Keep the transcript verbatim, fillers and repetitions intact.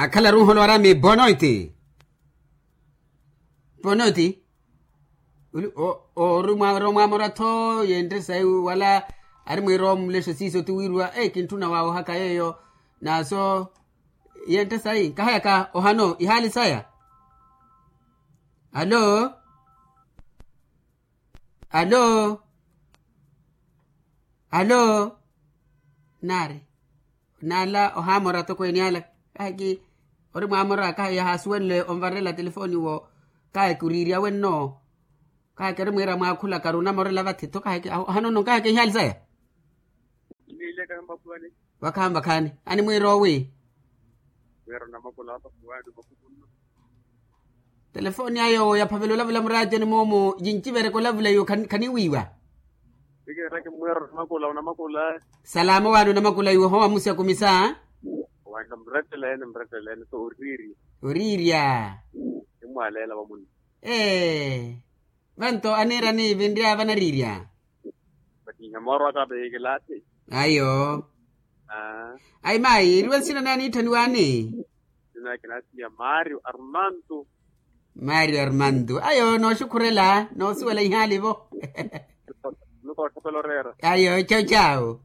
Akhalaru nholo arami bonoiti. Bonoiti. Ori mwamora tho yentte sayi wala ari mwira omulesho siiso ti wirwa e kintthuna waawohaka yeeyo. Naso yentte sayi nkahayaka ohano ihaali saya. Alo. Alo. Alo. Naari nala ohaamora atokweene ala. Kahaki ori mwaamora kaha yahaasuwenle onvarela telefoni wo. Kahaki oriirya wenno. Kahaki ori mwiira mwaakhulaka ori onamorela vathi tho kahaki ohanono kahaki ihaali saya. Wakhaani vakhaani animwiira owi. Telefoni ayo yaphavela olavula muraatiyoni moomo yincivereke olavula iwo khaniwiiwa. Salaamu waani onamakula iwo howa musi akumisa. Oriirya. Ee. Vanto aniirani vinryaya vanariirya. Ayo. Ayi mayi eriwe nsina naye aniitthaniwaani? Mario armando. Ayo nooxukhurela noosiwela ihaalivo. Ayo chau chau.